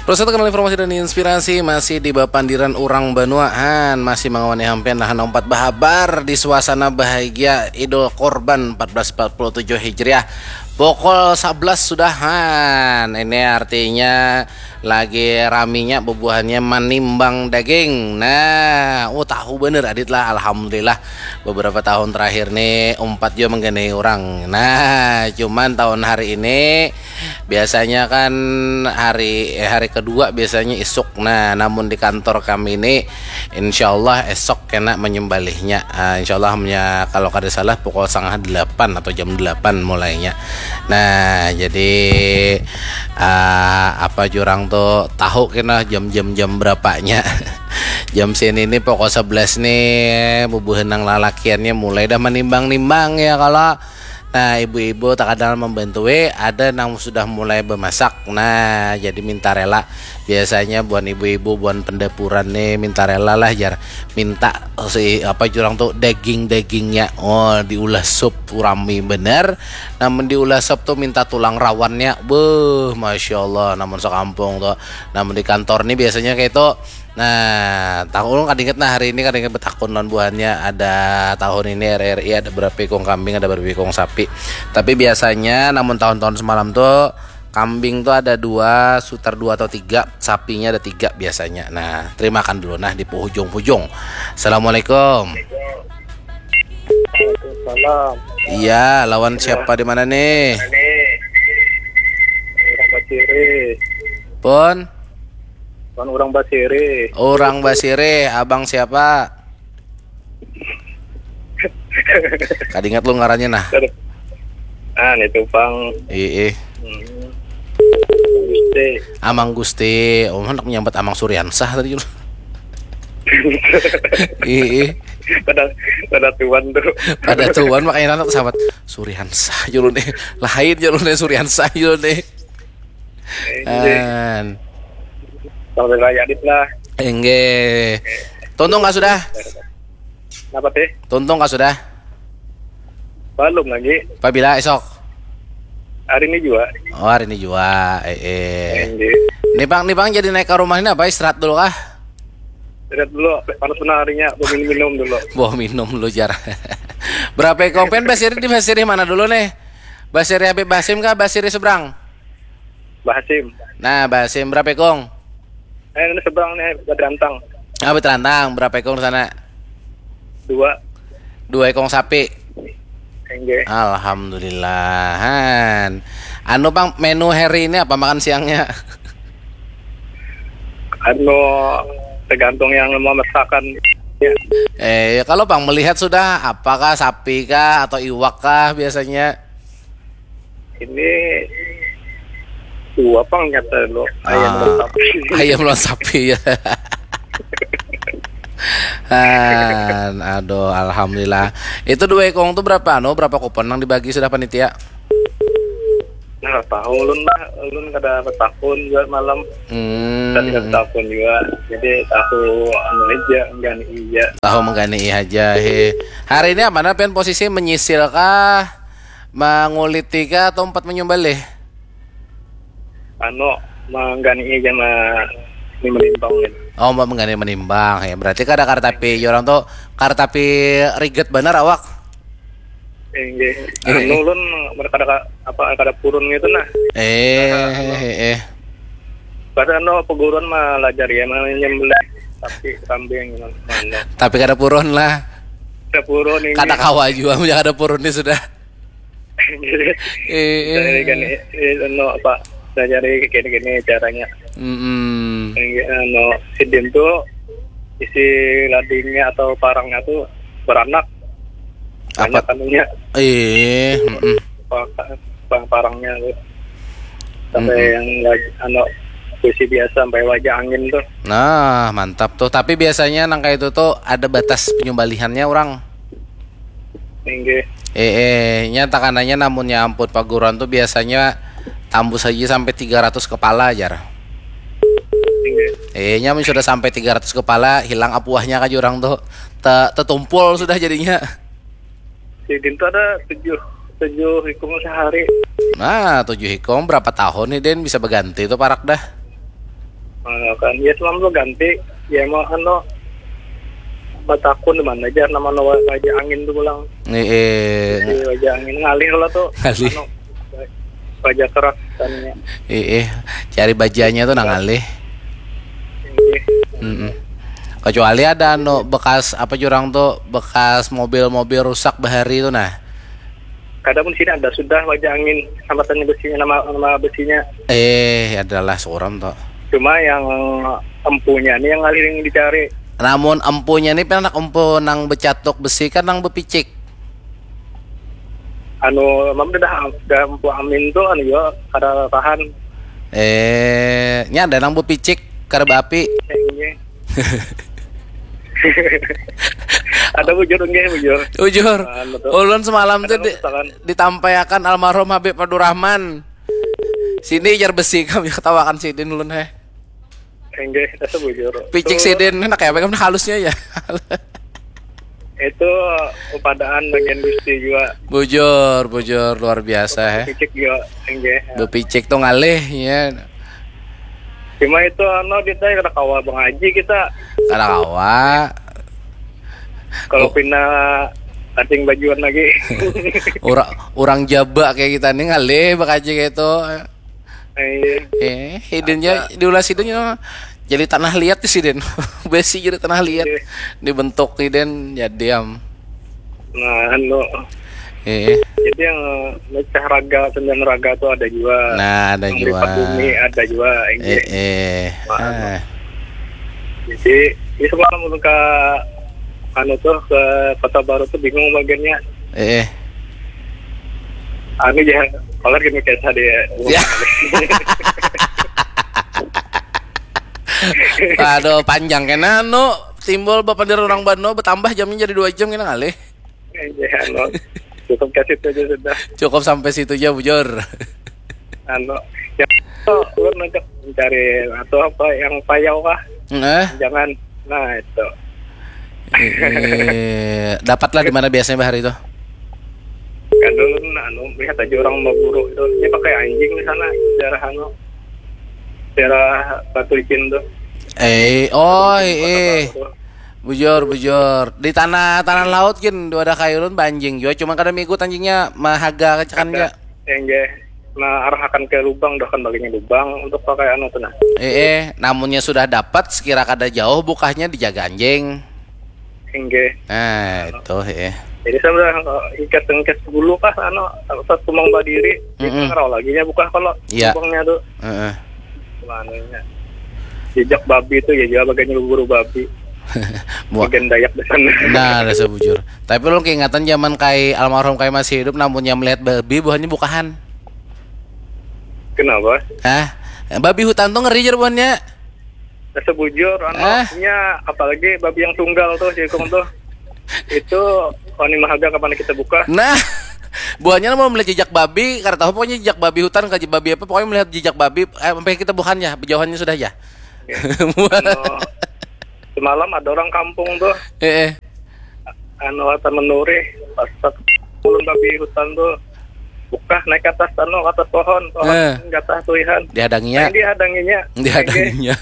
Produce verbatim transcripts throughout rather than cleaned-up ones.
Terus itu kenal informasi dan inspirasi masih di bapandiran urang banua han, masih mangawani hampian lahan umpat bahabar di suasana bahagia Idul Kurban empat belas empat puluh tujuh Hijriah. Pukul sebelas sudah han. Ini artinya lagi raminya bubuhannya manimbang daging. Nah, oh tahu bener Adit lah, alhamdulillah beberapa tahun terakhir nih umpat juga menggenai orang. Nah, cuman tahun hari ini biasanya kan hari eh, hari kedua biasanya isuk. Nah, namun di kantor kami ini insyaallah esok kena menyembelihnya. Ah, insyaallah hanya kalau kada salah pukul setengah delapan atau jam delapan mulainya. Nah, jadi ah, apa jurang tuh tahu kena jam-jam jam berapanya. Jam sini ini pukul sebelas nih bubuhan nang lalakiannya mulai dah menimbang-nimbang ya kalau. Nah, ibu-ibu tak ada membantui, ada nang sudah mulai bemasak. Nah, jadi minta rela. Biasanya buan ibu-ibu, buan pendapuran nih minta rela lah jar. Minta si apa jurang tuh daging-dagingnya. Oh, diulah sup rami bener. Namun diulah sup tuh minta tulang rawannya. Beuh, masya Allah. Namun sekampung tuh. Namun di kantor nih biasanya kayak itu. Nah, tahu ulun kada ingat nah hari ini kada ingat betakun lawan buhannya ada tahun ini R R I ada berapa ikung kambing ada berapa ikung sapi. Tapi biasanya namun tahun-tahun semalam tuh kambing tuh ada dua, sutar dua atau tiga, sapinya ada tiga biasanya. Nah, terima kan dulu nah di puhujung-hujung. Assalamualaikum. Salam. Iya, lawan siapa di mana nih? Orang Basiri. Pun? Kan orang Basiri. Orang Basiri, abang siapa? Kadingat lu ngarannya nah. Ah, ini tuh pang. Ih, ih. Hmm. Gusti. Amang Gusti, oh anak menyambat Amang Suriansah tadi. Ih, ih. Pada pada tuan tuh. Pada tuan makanya anak sahabat Suriansah julu nih. Lain julu nih Suriansah julu nih. Ini An. Sampai raya dit lah. Enggak. Tuntung nggak sudah? Kenapa teh? Tuntung nggak sudah? Belum lagi. Pabila esok? Hari ini juga. Oh hari ini juga. Eh, eh. Ini. Nih pang, nih pang jadi naik ke rumah ini apa istirahat dulu kah? Lihat dulu, panas benar harinya, minum-minum dulu. Bawa minum dulu jar. Berapa ikong pen Basiri di Basiri mana dulu nih? Basiri Habib Basim kah Basiri seberang? Bahasim. Nah Basim berapa ikong? Eh, ini seberang nih, ada rantang. Ah beterantang berapa ikong di sana? Dua. Dua ikong sapi. Enggak. Alhamdulillahan. Anu pang menu hari ini apa makan siangnya? Anu tergantung yang mau masakan. Ya. Eh, kalau pang melihat sudah apakah sapi kah atau iwak kah biasanya? Ini dua pang nyata lo. Ayam Ah, dan sapi. Ayam lawan sapi ya. Han, aduh, alhamdulillah. Itu dua ikong tuh berapa anu, berapa kupon yang dibagi sudah panitia? Nah, tahu ulun lah, ulun kada bertakun juga malam. Hmm, Tadi kada takun juga. Jadi tahu anu aja, enggak iya. Tahu menggani aja he. Hari ini apa pen posisi menyisil kah? Menguliti kah atau empat menyembelih? Anu, menggani aja mah ini menimbang gitu. Oh, mbak menggani menimbang ya. Berarti kada kartapi orang tuh kartapi riget benar awak. Enggak. Anu ulun kada apa kada purun gitu nah. Eh, eh, eh. Pada anu peguruan mah lajar ya mah nyembelih tapi kambing anu. Tapi kada purun lah. Kada purun ini. Kada kawa juga punya kada purun ini sudah. Eh, Dari kan eh. eh, anu apa? Lajari gini-gini caranya. Mm-mm. Enggak anu sidin tuh isi ladingnya atau parangnya tuh beranak. Apa? Banyak anunya. Eh, mm-mm. Apa, apa parangnya tuh. Sampai yang lagi anu puisi biasa sampai wajah angin tuh. Nah, mantap tuh. Tapi biasanya nang kayak itu tuh ada batas penyembelihannya orang. Inggih. Eh, eh, nya takananya namunnya ampun paguruan tuh biasanya tambus aja sampai tiga ratus kepala jar. Inggih. Eh, nya mun sudah sampai tiga ratus kepala hilang apuahnya ka jurang tuh. Te- tetumpul sudah jadinya. Sidin tuh ada tujuh tujuh ikung sehari. Nah, tujuh ikung berapa tahun nih Den bisa berganti tuh parak dah. Nah, kan ya semalam tu ganti, ya mau anu, batakun di mana aja nama, nama wajah angin tu pulang. Nih, eh, Di wajah angin ngalih lah tu. Ngalih. Anu, wajah keras kan ya. Eh, eh, cari bajanya tuh nang ngalih. Ini. Mm-mm. Kecuali ada anu bekas apa jurang tuh, bekas mobil-mobil rusak bahari tuh nah. Kadang pun sini ada sudah wajah angin, sambatannya besinya, nama nama besinya. Eh, adalah suram tuh. Cuma yang empunya nih yang ngalih yang dicari. Namun empunya nih pernah empu nang becatuk besi kan nang bepicik. Anu, mam dah dah empu amin tuh anu ya, kada tahan. Eh, nya ada nang bepicik kada baapi. Kayaknya. Ada bujur enggak bujur? Bujur. Anu tuh. Ulun semalam tuh Kadang di, misalkan. Ditampaiakan almarhum Habib Abdurrahman. Sini jar besi kami ketawakan sidin ulun heh. Enggak, kita sebujur. Picik Tuh, sidin enak ya, pegang halusnya ya. Itu upadaan bagian Gusti juga. Bujur, bujur luar biasa heh. Picik juga, enggak. Bepicik tuh ngalih ya. Cuma itu anu kita kada kawa mengaji kita. Kada kawa. Kalau Oh. Pina kating bajuan lagi. Orang orang jaba kayak kita nih ngalih bakaji kayak itu. Iya. Eh, hidungnya diulas hidungnya jadi tanah liat di sidin. Besi jadi tanah liat. Iya. Dibentuk sidin jadi am. Nah, anu. Eh, Jadi yang mecah raga, sembilan raga tuh ada juga. nah ada Yang juga. Lipat bumi ada juga. Eh, Enggak. eh. Wah, Ah. Jadi, ini semalam ulun ke anu tuh, ke Kota Baru tuh bingung bagiannya. Eh, eh. Anu ya, kalau gini kayak tadi ya. Ya. Aduh, panjang kena anu timbul bapandir orang Bano bertambah jamnya jadi dua jam kena ngalih. Ya, anu. Cukup kasih itu aja sudah. Cukup sampai situ aja bujur. Anu, ya, tuh, ulun ngajak mencari atau apa yang payau kah? Nah, Jangan. Nah, itu. eh, dapatlah di mana biasanya bahari itu? Kan ulun anu melihat aja orang berburu itu. Ini pakai anjing di sana, daerah anu. Daerah Batu Licin tuh. Eh, oh, eh, Kota Baru tuh. Bujur, bujur. Di tanah tanah laut gin dua ada kayu ulun banjing jua, cuma kada migut anjingnya mahaga kacakan Ada. ja. Enggak. Nah, arahakan ke lubang, dah kan baginya lubang untuk pakai anu tuh nah. Eh, eh, namunnya sudah dapat sekira kada jauh bukahnya dijaga anjing. Enggak. Nah, itu eh. Jadi saya udah ikat ikat dulu kah anu, pas tumang badiri, Mm-mm. ngerau lagi nya buka kalau Iya. lubangnya tuh. Heeh. Manunya. Jejak babi itu ya, juga bagian berburu babi. Buah. Bagian Dayak di sana. Nah, rasa bujur. Tapi ulun keingatan zaman kai almarhum kai masih hidup namunnya melihat babi buahnya bukahan. Kenapa? Hah? Babi hutan tuh ngeri jar buahnya. Rasa bujur, anu, Ah. nya apalagi babi yang tunggal tuh, jikung tuh. Itu wani mahaga kapan kita buka. Nah, buahnya mau melihat jejak babi, kada tahu pokoknya jejak babi hutan, kaji babi apa, pokoknya melihat jejak babi, eh, sampai kita bukannya, jauhannya sudah ya. Anu, semalam ada orang kampung tuh, eh, eh. anu, kata menuri, pas ulun babi hutan tuh, buka naik ke atas anu, ke atas pohon, pohon Eh. ke atas tuihan. Dihadanginya. Yang dihadanginya. Dihadanginya.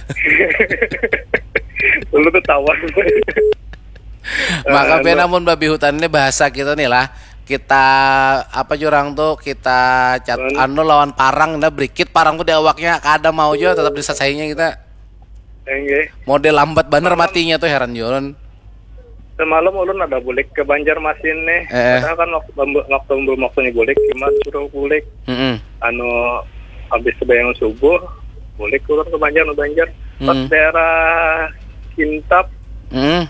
Dulu tuh tawan. Maka Anu. Be, namun babi hutan ini bahasa kita nih lah. Kita apa jurang tuh kita cat Anu. Anu lawan parang dah berikit parang tuh di awaknya kada mau juga tetap disasainya kita. Enggak. Model lambat banget matinya tuh heran Yun. Semalam ulun ada bulik ke Banjarmasin nih. Eh. Padahal kan waktu waktu belum waktunya bulik, cuma suruh bulik. Mm-mm. Anu, habis sembahyang subuh, bulik ulun ke Banjar, Banjar. Pas Hmm. daerah Kintap, Mm.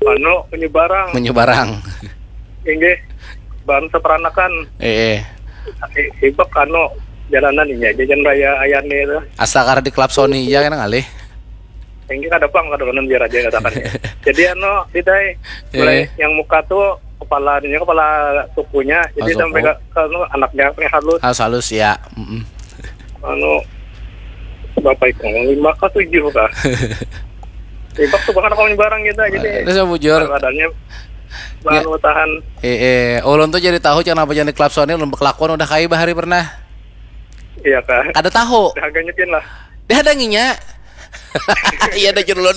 anu, menyebarang. Menyebarang. Inggih, bahan seperanakan. Eh, eh. Ibak anu, jalanan ini aja, jalan raya Ayani itu. Asal karena diklapsoni ya kan ngalih. Inggih kada pang, kada kanan biar aja katakan. Jadi anu, Bidai, mulai Eh. yang muka tuh kepala ininya, kepala sukunya, jadi Ah, sampai suku. ke, ke anu, anaknya kayak halus. Halus-halus ya. Mm-mm. Anu, berapa itu? Lima kah, tujuh kah? Ibak tuh bahkan kalau barang gitu, jadi Itu saya bujur. Badannya bahan Ya. Tahan. Eh, eh, ulun tuh jadi tahu kenapa jadi klapsoni ulun berkelakuan udah kai bahari pernah. Iya kah? Kada tahu. Harganya pin lah. Dia ada nginya. Iya ada jurulun.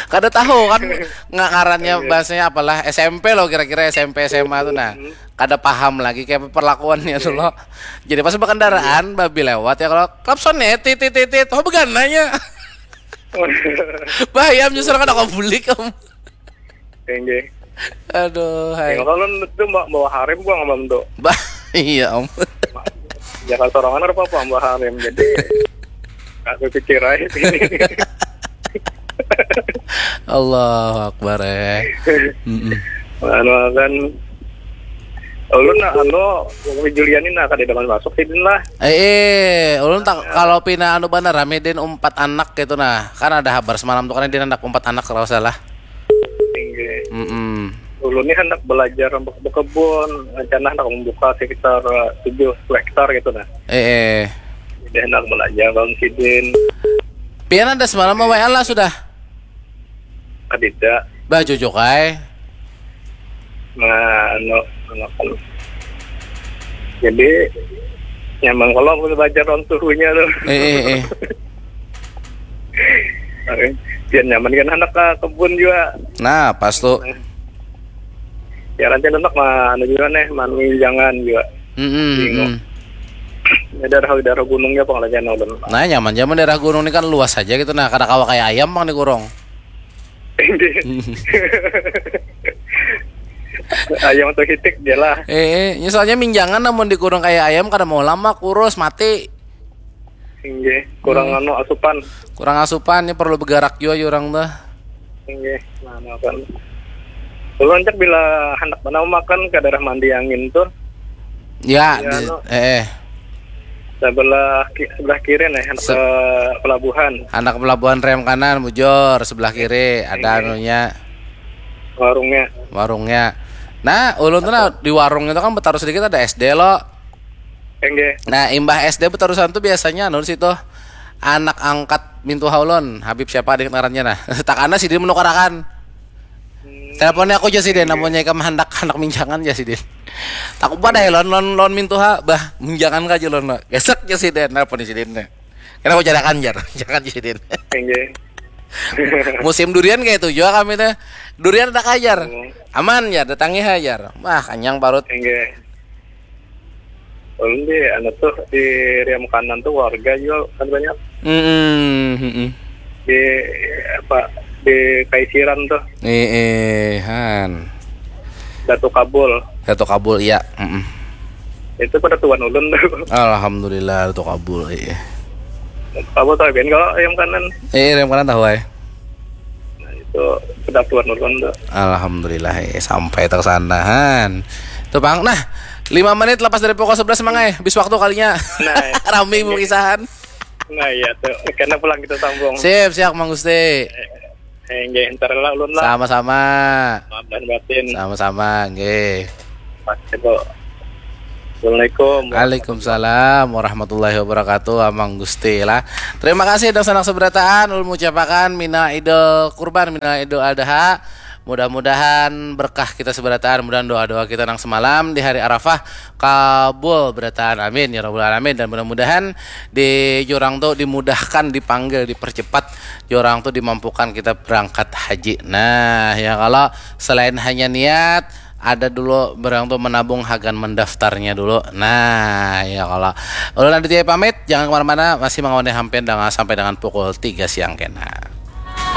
Kada tahu kan nggak ngarannya bahasanya apalah S M P loh kira-kira S M P S M A tuh nah kada paham lagi kayak perlakuannya tuh loh. Jadi pas berkendaraan babi lewat ya kalau klakson ya tit tit tit tit oh begananya. Bahaya menyusul kan aku bulik kamu. Enggak. Aduh, hai. Kalau itu mbak bawa harem gua ngamam tuh. Bah, iya om. Jangan sorangan apa apa mbak harem jadi aku pikir aja. Allahu Akbar eh. Mm-mm. Anu kan ulun nah anu Umi Juliani nah kada dapat masuk sidin lah. Eh, eh, ulun tak kalau pina anu banar Ramidin umpat anak gitu nah. Kan ada habar semalam tuh kan dia anak umpat anak kalau salah. Tinggi. Mm-mm. Ulun nih hendak belajar untuk berkebun, rencana hendak membuka sekitar eh, tujuh hektar gitu nah. Eh, eh. Jadi hendak belajar bang sidin. Pian ada semalam W A lah sudah. Kadida. Bah cucuk ai. Nah, anu, anu kan. Jadi nyaman kalau aku belajar orang suhunya tuh. Eh, eh, eh. Biar nyaman kan anak ke kebun juga. Nah, pas tuh. Ya rancak anak mah anu juga nih, maminjangan juga. Mm-mm, Bingung. mm. Ya daerah daerah gunungnya pengelajaan ulun. Nah, nyaman zaman daerah gunung ini kan luas aja gitu. Nah, kada kawa kayak ayam bang dikurung. Ayam atau hitik dia lah. Eh, eh, ini soalnya minjangan namun dikurung kayak ayam kada mau lama kurus mati. Tinggi, kurang anu asupan. Kurang asupan ini perlu bergerak juga orang tuh. Tinggi, nah makan. Ulun cak bila hendak mana makan ke daerah mandi angin tuh. Ya, Ya, di- no. eh, eh. Sebelah ki- sebelah kiri nih hendak Se- ke pelabuhan Anak pelabuhan rem kanan bujur sebelah kiri ada Iya. anunya warungnya. Warungnya. Nah, ulun tuh nah, di warung itu kan betaruh sedikit ada S D lo. Enggak. Nah, imbah S D betarusan tuh biasanya anu situ anak angkat mintuha ulun, Habib siapa adik ngarannya nah. Takana sidin menukarakan. Teleponnya aku aja sidin, namunnya ikam handak handak minjangan aja sidin. Takut pada ya lon lon lon mintuha, bah minjangan aja lon. Gesek aja sidin, telepon sidin. Karena aku jarakan jar, jangan sidin. Enggak. Musim durian kayak itu juga kami teh. Durian ada kajar. Hmm. Aman ya, datangi aja. Wah, kanyang parut. Enggak. Ulun di anu tuh di Riam Kanan tuh warga juga kan banyak Mm-mm, mm-mm. di apa di Kaisiran tuh Eh, eh, han. Datu Kabul Datu Kabul iya. Mm-mm. Itu pada tuan ulun tuh. Alhamdulillah Datu Kabul iya. Datu Kabul tahu kan kalau Riam Kanan Eh, Riam Kanan tahu ai. Nah, itu pada tuan ulun tuh. Alhamdulillah eh, sampai tersanahan. Tuh Bang, nah lima menit lepas dari pukul sebelas mangai, bis waktu kalinya. Nah, Rame mau kisahan. Nah iya tuh karena pulang kita sambung. Sip, siap Mang Gusti. Enggak, ntar lah ulun lah. Sama-sama. Maaf dan batin. Sama-sama, nggih. Mas, itu. Assalamualaikum. Waalaikumsalam warahmatullahi wabarakatuh, Amang Gusti lah. Terima kasih dan senang seberataan ulun mengucapkan mina idul kurban, mina idul adha. Mudah-mudahan berkah kita seberataan, mudahan doa-doa kita nang semalam di hari Arafah kabul berataan. Amin ya rabbal alamin dan mudah-mudahan di jurang tuh dimudahkan, dipanggil, dipercepat jurang tuh dimampukan kita berangkat haji. Nah, ya kalau selain hanya niat ada dulu barang tuh menabung hagan mendaftarnya dulu. Nah, ya kalau ulun Aditya pamit, jangan kemana-mana, masih mengawani hampian dengan sampai dengan pukul tiga siang kena.